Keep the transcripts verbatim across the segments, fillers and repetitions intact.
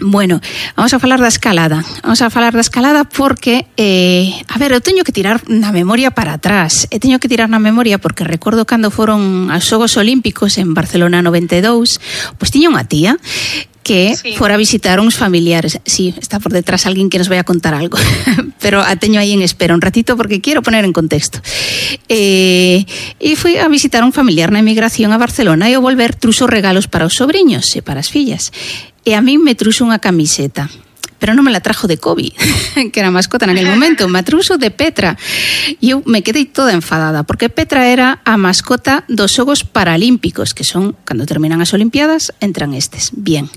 Bueno, vamos a falar da escalada. Vamos a falar da escalada porque, eh, a ver, eu teño que tirar na memoria para atrás. Eu teño que tirar na memoria porque recordo cando foron aos Xogos Olímpicos en Barcelona noventa e dous, pois tiña unha tía que sí. fora a visitar uns familiares. Sí, está por detrás alguén que nos vai a contar algo, pero a teño aí en espera un ratito porque quero poner en contexto. Eh, e fui a visitar un familiar na emigración a Barcelona e ao volver truxo regalos para os sobriños e para as fillas. E a mí me truxo unha camiseta, pero non me la trajo de Kobe, que era mascota naquele momento, me truxo de Petra. E eu me quedei toda enfadada, porque Petra era a mascota dos Xogos Paralímpicos, que son, cando terminan as Olimpiadas, entran estes. Bien.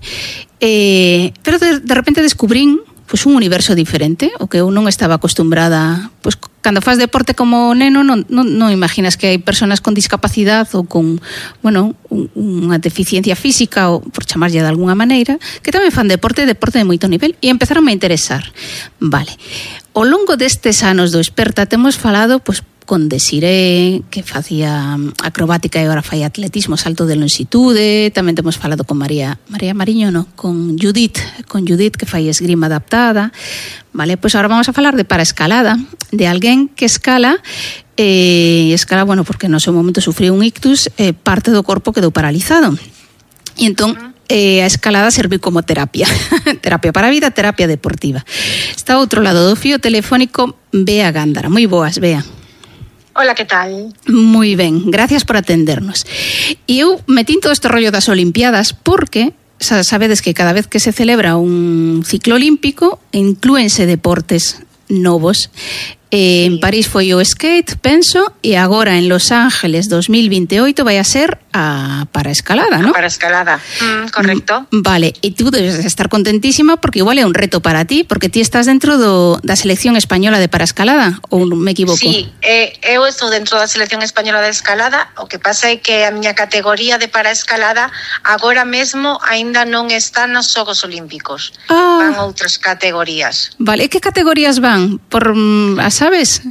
Eh, pero de, de repente descubrín pues, un universo diferente, o que eu non estaba acostumbrada. Pues, cando faz deporte como neno, non, non, non imaginas que hai personas con discapacidade ou con, bueno, un, unha deficiencia física, ou por chamarlle de alguna maneira, que tamén fan deporte, deporte de moito nivel, e empezaron a interesar. Vale. Ao longo destes anos do Experta temos falado, pues, con Desiré, que facía acrobática e agora fai atletismo, salto de longitude. Tamén temos falado con María María Mariño, no, con Judith, con Judith que fai esgrima adaptada. Vale, pois pues agora vamos a falar de paraescalada, de alguén que escala eh, escala, bueno, porque no seu momento sufriu un ictus, eh, parte do corpo quedou paralizado. E entón eh, a escalada serviu como terapia. Terapia para a vida, terapia deportiva. Está ao outro lado do fío telefónico Bea Gándara. Moi boas, Bea. Hola, ¿qué tal? Moi ben, gracias por atendernos. E eu metín todo este rollo das Olimpiadas porque sabedes que cada vez que se celebra un ciclo olímpico inclúense deportes novos. Eh, en París foi o skate, penso, e agora en Los Ángeles dos mil veintioito vai a ser a paraescalada, ¿no? A paraescalada, mm, correcto. Vale, e tú debes estar contentísima porque igual é un reto para ti, porque ti estás dentro do, da selección española de paraescalada, ou me equivoco? Sí, eh, eu estou dentro da selección española de escalada, o que pasa é que a miña categoría de paraescalada agora mesmo aínda non está nos Xogos Olímpicos. Ah. Van outras categorías. Vale, e que categorías van? Por as ¿sabes?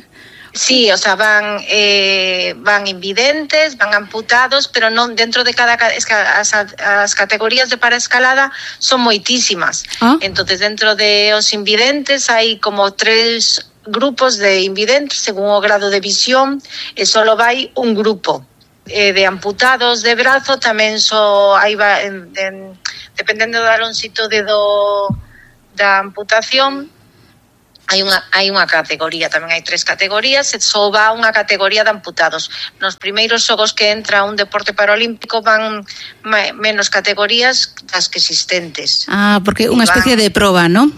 Sí, o sea, van eh, van invidentes, van amputados, pero non dentro de cada es que as, as categorías de paraescalada son moitísimas. ¿Ah? Entonces, dentro de os invidentes hai como tres grupos de invidentes según o grado de visión, e solo vai un grupo. Eh, de amputados de brazo tamén so hai va, en, en, dependendo da longitude do da amputación. Hai unha, hai unha categoría, tamén hai tres categorías, e só va unha categoría de amputados. Nos primeiros xogos que entra un deporte paralímpico van menos categorías das que existentes. Ah, porque unha especie van, de proba, ¿no?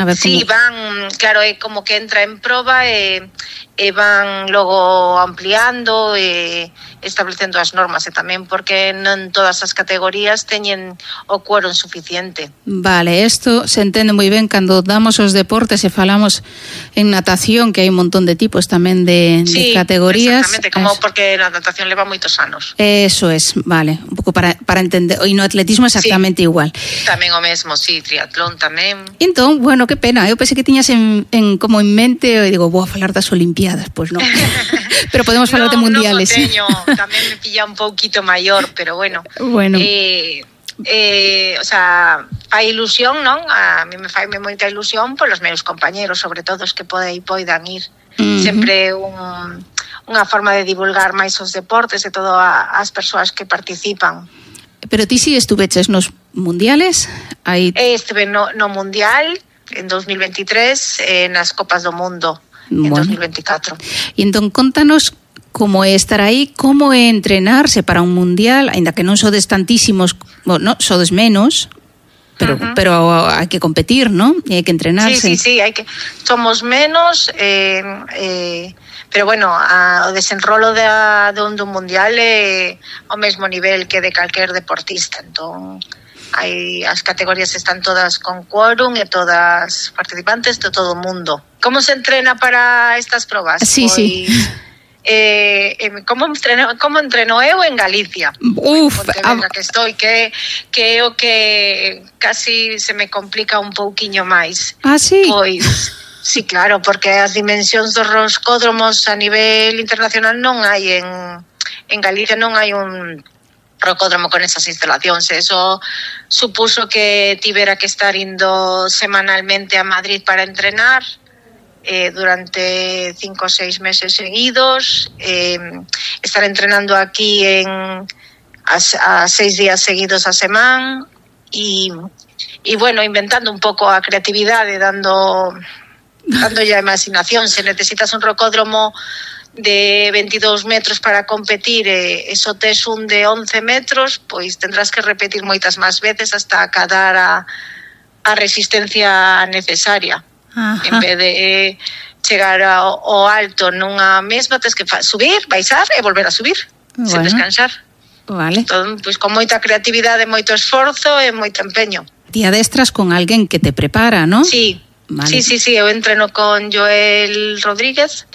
A ver, sí, como... van, claro, é como que entra en proba e, e van logo ampliando e establecendo as normas, e tamén porque non todas as categorías teñen o quórum suficiente. Vale, isto se entende moi ben cando damos os deportes e falamos en natación, que hai un montón de tipos tamén de, sí, de categorías. Exactamente, como es... porque a natación leva moitos anos. Eso es, vale, un pouco para, para entender, e no atletismo exactamente sí, igual. Tamén o mesmo, sí, triatlón tamén. Entón, bueno, que pena, eu pensei que tiñas en, en como en mente, e digo, vou a falar das Olimpiadas, pois pues non. Pero podemos falar no, de mundiales. Non o teño, tamén me pilla un pouquito maior, pero bueno. Bueno. Eh, eh, o sea, fai ilusión, non? A mí me fai moita ilusión polos meus compañeros, sobre todo os que pode, poidan ir. Uh-huh. Sempre un, unha forma de divulgar máis os deportes e todo a, as persoas que participan. Pero ti si estuveches nos mundiales? Hai... Estuve no, no mundial en dos mil veintitrés, eh, nas Copas do Mundo en bueno. dos mil veinticuatro. E entón, contanos como é estar aí, como é entrenarse para un mundial, aínda que non sodes tantísimos, bueno, sodes menos, pero uh-huh. pero hai que competir, ¿no? E hai que entrenarse. Sí, sí, sí, hai que somos menos, eh, eh, pero bueno, a, o desenrolo de, de un, de un mundial é ao mesmo nivel que de calquer deportista, entón hai as categorías están todas con quórum e todas participantes de todo o mundo. Como se entrena para estas probas? Sí, pois, sí. Eh, eh, como entreno, como entreno eu en Galicia. Uf, a... que estou que que o que casi se me complica un pouquiño máis. Ah, sí. Pois sí, claro, porque as dimensións dos roscódromos a nivel internacional non hai en en Galicia non hai un rocódromo con esas instalacións. Eso supuso que tivera que estar indo semanalmente a Madrid para entrenar eh, durante cinco ou seis meses seguidos, eh, estar entrenando aquí en a, a seis días seguidos a semana e, e bueno, inventando un pouco a creatividade, dando dando ya imaginación. Se necesitas un rocódromo de veintidós metros para competir e eso tes un de once metros, pois tendrás que repetir moitas máis veces hasta acadar a, a resistencia necesaria. Ajá. En vez de eh, chegar ao, ao alto nunha mesma, tens que fa- subir, baixar e volver a subir, bueno, sen descansar. Vale. Entón, pois con moita creatividade, moito esforzo e moito empeño. Ti adestras con alguén que te prepara, ¿no? Sí, vale. sí, sí, sí, eu entreno con Joel Rodríguez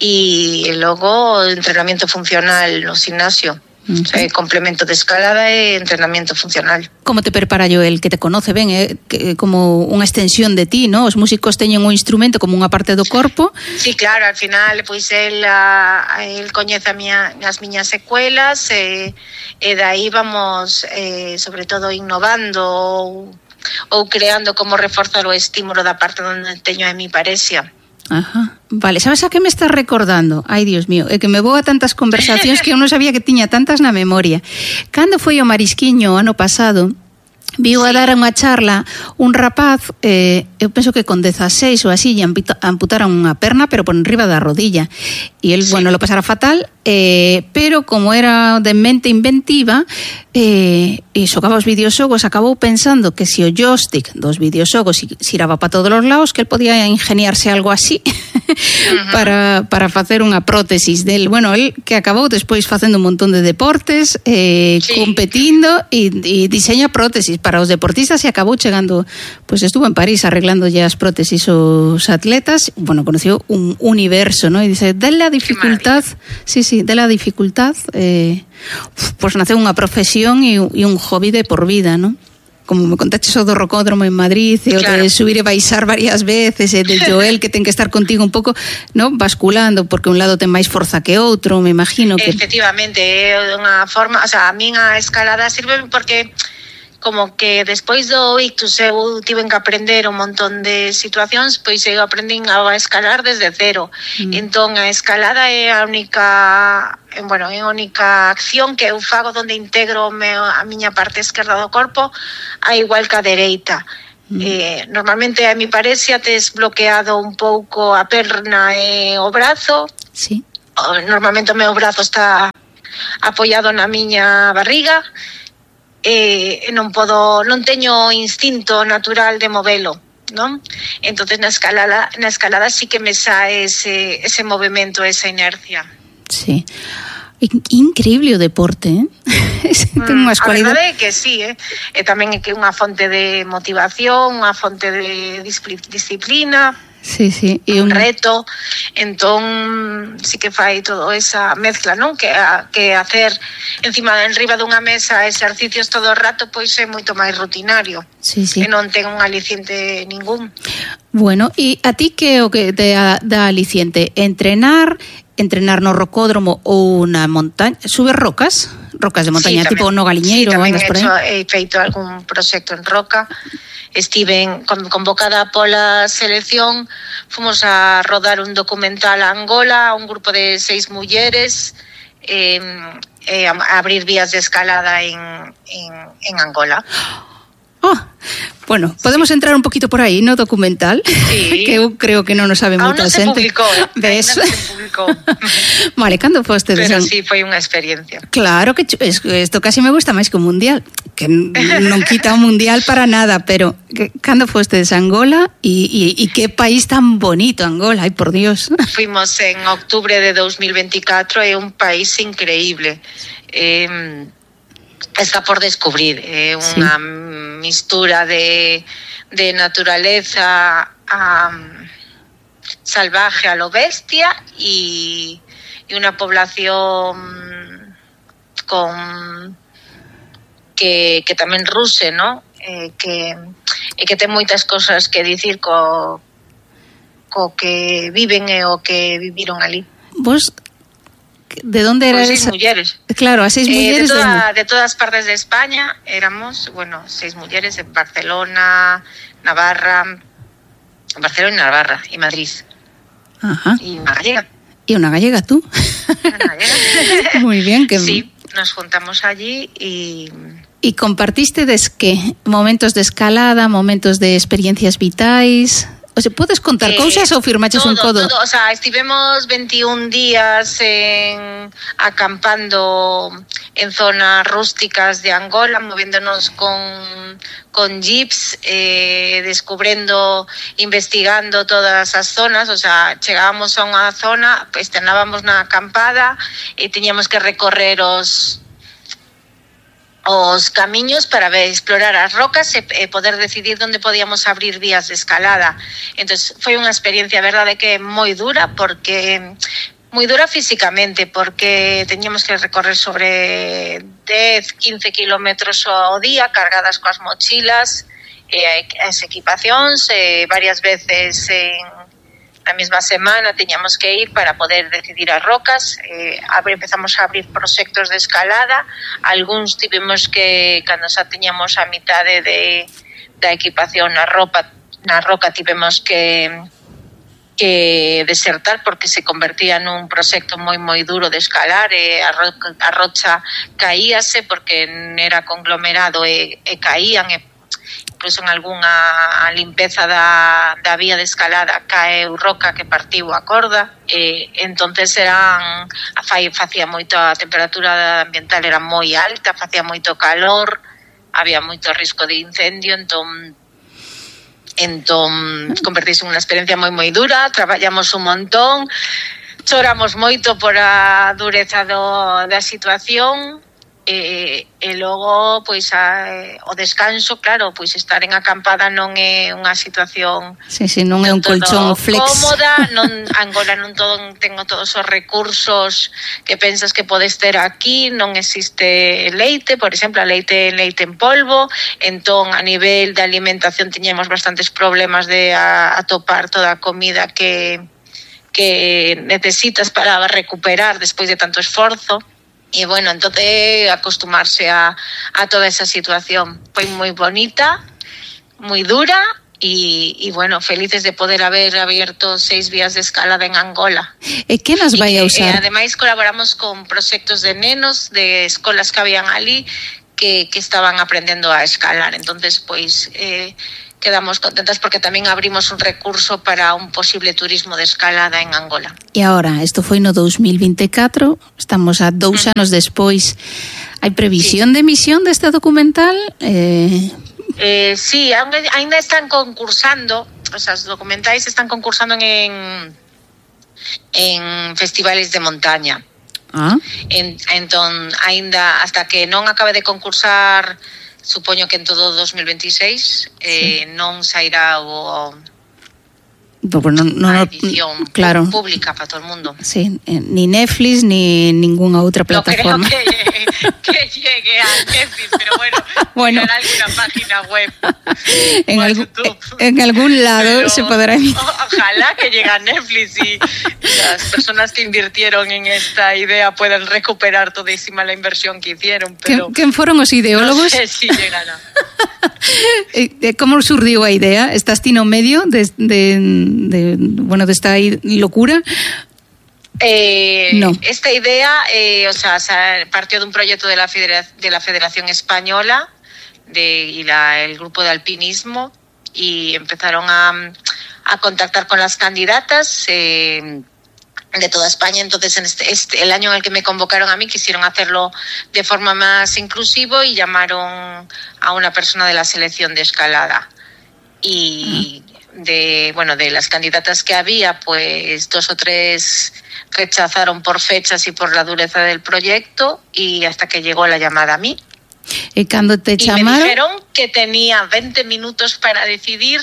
e logo entrenamiento funcional no gimnasio. Uh-huh. O sea, complemento de escalada e entrenamiento funcional. Como te prepara Joel, que te conoce ben, eh? Que, como unha extensión de ti, ¿no? Os músicos teñen un instrumento como unha parte do corpo. Sí, claro, al final, pois el, a, el coñece a miña, as miñas secuelas e, e dai vamos, eh, sobre todo, innovando ou, ou creando como reforzar o estímulo da parte onde teño a mi parexia. Ajá. Vale, sabes a que me estás recordando? Ai, Dios mío, é que me vou a tantas conversacións que eu non sabía que tiña tantas na memoria. Cando foi o Marisquiño ano pasado, viu a dar unha charla un rapaz, eh, eu penso que con dezaseis ou así, lle amputaron unha perna, pero por enriba da rodilla. E el, sí. bueno, lo pasara fatal, eh, pero como era de mente inventiva, eh, e xogaba os videoxogos, acabou pensando que se o joystick dos videoxogos xiraba para todos os lados, que el podía ingeniarse algo así uh-huh. para, para facer unha prótesis del. Bueno, el que acabou despois facendo un montón de deportes, eh, sí. competindo e, e diseña prótesis para os deportistas e acabou chegando, pois pues estuvo en París arreglándolle as prótesis aos atletas. Bueno, conoció un universo, ¿no? E dice, de la dificultad, sí, sí, de la dificultad, eh, pues nace unha profesión e, e un hobby de por vida, ¿no? Como me contaches o do rocódromo en Madrid, e o claro. de subir e baixar varias veces, e de Joel que ten que estar contigo un pouco, ¿no? Basculando, porque un lado ten máis forza que outro, me imagino que... Efectivamente, é unha forma, o sea, a min a escalada sirve porque como que despois do ictus eu tiven que aprender un montón de situacións, pois eu aprendín a escalar desde cero. Mm. Entón a escalada é a única, bueno, é a única acción que eu fago onde integro a miña parte esquerda do corpo a igual que a dereita. Mm. Eh, normalmente a mi parexia tes bloqueado un pouco a perna e o brazo. Sí. Normalmente o meu brazo está apoiado na miña barriga. Eh, non podo, non teño instinto natural de movelo, non? Entonces na escalada, na escalada sí que me sae ese, ese movimento, esa inercia. Sí. Increíble o deporte, eh? Ten unhas cualidades. A verdade é que sí, eh? E tamén é que unha fonte de motivación, unha fonte de disciplina. Sí, sí, e un reto. Entón sí que fai todo esa mezcla, non? Que a, que hacer encima de enriba dunha mesa exercicios todo o rato pois é moito máis rutinario. Sí, sí. Que non ten un aliciente ningún. Bueno, e a ti que o que te dá aliciente? Entrenar, entrenar no rocódromo ou na montaña? Subes rocas? Rocas de montaña, sí, tipo no Galiñeiro? Sí, tamén he, hecho, he feito algún proxecto en roca. Estive convocada pola selección, fomos a rodar un documental a Angola, un grupo de seis mulleres, eh, eh, a abrir vías de escalada en, en, en Angola. Oh, bueno, podemos sí. entrar un poquito por aí no documental, sí. que eu creo que non o sabe moita no xente. Publicou, ves? Non se publicou. Vale, cando foste? Pero sí, foi unha experiencia. Claro que isto casi me gusta máis que o mundial, que non quita o mundial para nada, pero que, cando foste de Angola e, e, e que país tan bonito Angola, ai por Dios. Fuimos en octubre de dos mil veinticuatro, é un país increíble. Eh, está por descubrir, é eh, unha sí. mistura de, de naturaleza a, salvaje a lo bestia y, y una población con que, que tamén ruse, ¿no? Eh, que, e que ten moitas cosas que dicir co, co que viven e o que viviron ali. Vos ¿De dónde eran? Seis mujeres. Claro, a seis eh, mujeres. De, toda, de todas partes de España éramos, bueno, seis mujeres en Barcelona, Navarra, Barcelona y Navarra, y Madrid. Ajá. Y una gallega. Y una gallega, tú. Una gallega. Muy bien. Que... Sí, nos juntamos allí y... ¿Y compartiste des qué? Momentos de escalada, momentos de experiencias vitais... O sea, podes contar eh, cousas ou firmaches todo, un codo? Todo, o sea, estivemos veintiún días en, acampando en zonas rústicas de Angola, moviéndonos con, con jeeps, eh, descubriendo, investigando todas as zonas. O sea, chegábamos a unha zona, pues, estábamos na acampada e teñamos que recorrer os... os camiños para ver, explorar as rocas e, e poder decidir onde podíamos abrir vías de escalada. Entonces, foi unha experiencia, a verdade, que é moi dura, porque moi dura físicamente, porque teníamos que recorrer sobre dez, quince kilómetros ao día, cargadas coas mochilas, e as equipacións, e varias veces en na mesma semana teñamos que ir para poder decidir as rocas. Eh, empezamos a abrir proxectos de escalada, algúns tivemos que, cando xa teñamos a mitade de, da equipación na ropa, na roca tivemos que que desertar porque se convertía nun proxecto moi moi duro de escalar, e a, ro- a rocha caíase porque era conglomerado e, e caían, e incluso en algunha limpeza da, da vía de escalada caeu roca que partiu a corda, e entonces eran facía moito, a temperatura ambiental era moi alta, facía moito calor, había moito risco de incendio, entón entón convertise en unha experiencia moi moi dura. Traballamos un montón, choramos moito por a dureza do, da situación. E, e logo, pois, a, o descanso, claro, pois estar en acampada non é unha situación sí, sí, non é un colchón flex cómoda, non, Angola non todo, tengo todos os recursos que pensas que podes ter aquí, non existe leite, por exemplo, a leite leite en polvo, entón a nivel de alimentación tiñemos bastantes problemas de a, atopar toda a comida que, que necesitas para recuperar despois de tanto esforzo. E, bueno, entonces acostumarse a, a toda esa situación. Foi moi bonita, moi dura e, e, bueno, felices de poder haber abierto seis vías de escalada en Angola. E que nas vai a usar? E, ademais, colaboramos con proxectos de nenos de escolas que habían ali que, que estaban aprendendo a escalar. Entonces, pois... Eh, quedamos contentas porque tamén abrimos un recurso para un posible turismo de escalada en Angola. E agora, isto foi no dos mil vinte e catro, estamos a dous uh-huh. anos despois. Hai previsión sí. de emisión deste documental? Eh... Eh, sí, ainda están concursando, o sea, os documentais están concursando en, en festivales de montaña. Ah. En, entón, ainda, hasta que non acabe de concursar, supoño que en todo dos mil veintiséis eh, sí. non sairá o pues no, no, a edición claro. pública para todo el mundo. Sí, eh, ni Netflix ni ninguna otra plataforma. No creo que, que llegue a Netflix, pero bueno, bueno. en alguna página web en, algún, en algún lado pero, se podrá emitir. Ojalá que llegue a Netflix y las personas que invirtieron en esta idea puedan recuperar todísima la inversión que hicieron. Pero ¿Quen foron os ideólogos? No sé si llegará. Como surdiu a idea? Estás ti no medio de, de, de, bueno, de esta locura? Eh, no. Esta idea eh, o sea, partió de un proyecto de la, Federa- de la Federación Española de, y la, el grupo de alpinismo, y empezaron a, a contactar con las candidatas eh, de toda España. Entonces, en este, este, el año en el que me convocaron a mí, quisieron hacerlo de forma más inclusivo y llamaron a una persona de la selección de escalada. Y uh-huh. de, bueno, de las candidatas que había, pues dos o tres rechazaron por fechas y por la dureza del proyecto, y hasta que llegó la llamada a mí. ¿Y cuando te y llamaron? Me dijeron que tenía veinte minutos para decidir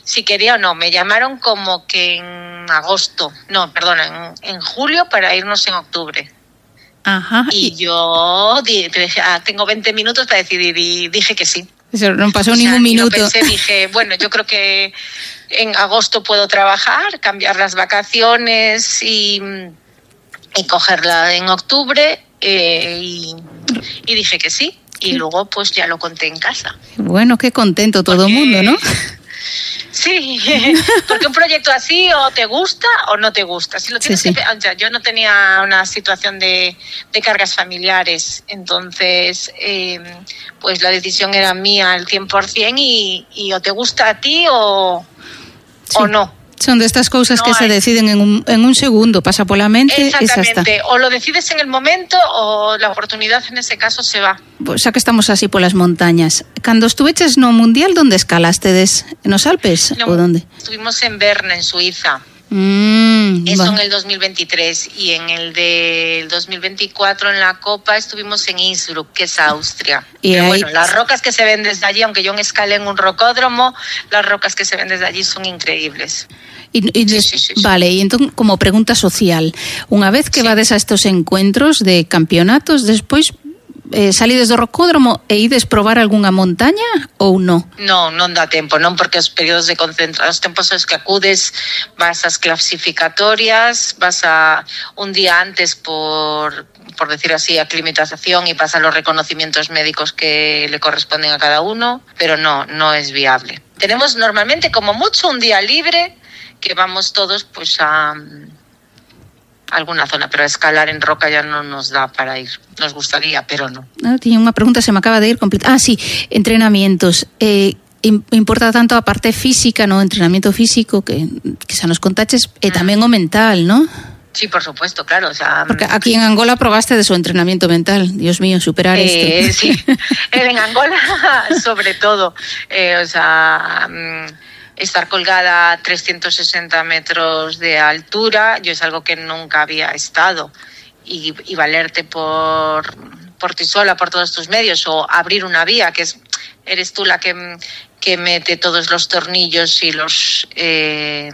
si quería o no. Me llamaron como que en agosto, no, perdona, en, en julio, para irnos en octubre. Ajá. Y yo dije, ah, tengo veinte minutos para decidir, y dije que sí. Eso no pasó o sea, ningún minuto. Lo pensé, dije, bueno, yo creo que en agosto puedo trabajar, cambiar las vacaciones y, y cogerla en octubre eh, y, y dije que sí. Y luego pues ya lo conté en casa. Bueno, qué contento todo el mundo, ¿no? Sí, porque un proyecto así o te gusta o no te gusta. Si lo tienes sí, sí. Que, o sea, yo no tenía una situación de, de cargas familiares, entonces eh, pues la decisión era mía al cien por ciento y, y o te gusta a ti o, sí. o no. Son de estas cosas no que hay. Se deciden en un, en un segundo, pasa por la mente. Exactamente, o lo decides en el momento o la oportunidad en ese caso se va. Pues xa que estamos así por las montañas, cando estuveches no Mundial, ¿dónde escalastedes? ¿En los Alpes no, o dónde? Estuvimos en Berna, en Suiza. Mm, Eso bueno. en el dos mil veintitrés y en el del dos mil veinticuatro en la Copa estuvimos en Innsbruck, que es Austria. Y Pero ahí... bueno, las rocas que se ven desde allí, aunque yo escalé en un rocódromo, las rocas que se ven desde allí son increíbles. Y, y sí, sí, sí, sí. Vale, y entonces como pregunta social, unha vez que sí. vades a estos encuentros de campeonatos, despois eh, salides do rocódromo e ides probar algunha montaña ou non? Non, non dá tempo, non, porque os períodos de concentración, os tempos aos que acudes, vas ás clasificatorias, vas a un día antes por por decir así, aclimatización y pasan los reconocimientos médicos que le corresponden a cada uno, pero no, no es viable. Tenemos normalmente como mucho un día libre que vamos todos pues a, a alguna zona, pero a escalar en roca ya no nos da para ir. Nos gustaría, pero no. Ah, tiene una pregunta, se me acaba de ir completa. Ah, sí, entrenamientos. Eh, importa tanto a parte física, ¿no? Entrenamiento físico, que, que xa nos contaches, e tamén o mental, ¿no? Sí, por supuesto, claro. O sea, porque aquí en Angola probaste de su entrenamiento mental. Dios mío, superar eh, esto. Sí, en Angola sobre todo. Eh, o sea, estar colgada a trescientos sesenta metros de altura, yo es algo que nunca había estado. Y, y valerte por, por ti sola, por todos tus medios, o abrir una vía, que es eres tú la que, que mete todos los tornillos y los... Eh,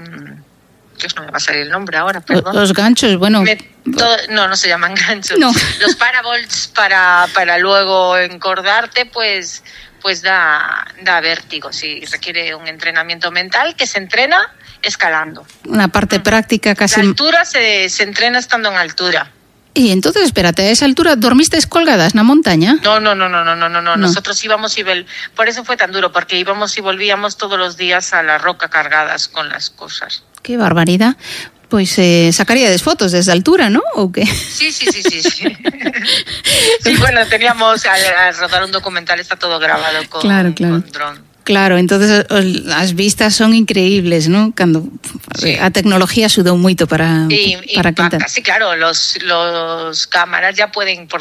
no me va a salir el nombre ahora, perdón. Los ganchos, bueno. Me, todo, no, no se llaman ganchos. No. Los paravolts para, para luego encordarte, pues, pues da, da vértigo. Sí, requiere un entrenamiento mental que se entrena escalando. Una parte mm. práctica casi. La altura se, se entrena estando en altura. Y entonces, espérate, a esa altura, ¿dormisteis colgadas en la montaña? No, no, no, no, no, no, no, no. Nosotros íbamos y vol- por eso fue tan duro, porque íbamos y volvíamos todos los días a la roca cargadas con las cosas. Qué barbaridad. Pues eh, sacaríades fotos desde altura, ¿no? ¿O qué? Sí, sí, sí, sí, sí. Sí, bueno, teníamos a, a rodar un documental, está todo grabado con, claro, claro. con dron. Claro, entonces las vistas son increíbles, ¿no? Cando sí. A tecnología axudou moito para y, para y, que sí, claro, los los cámaras ya pueden por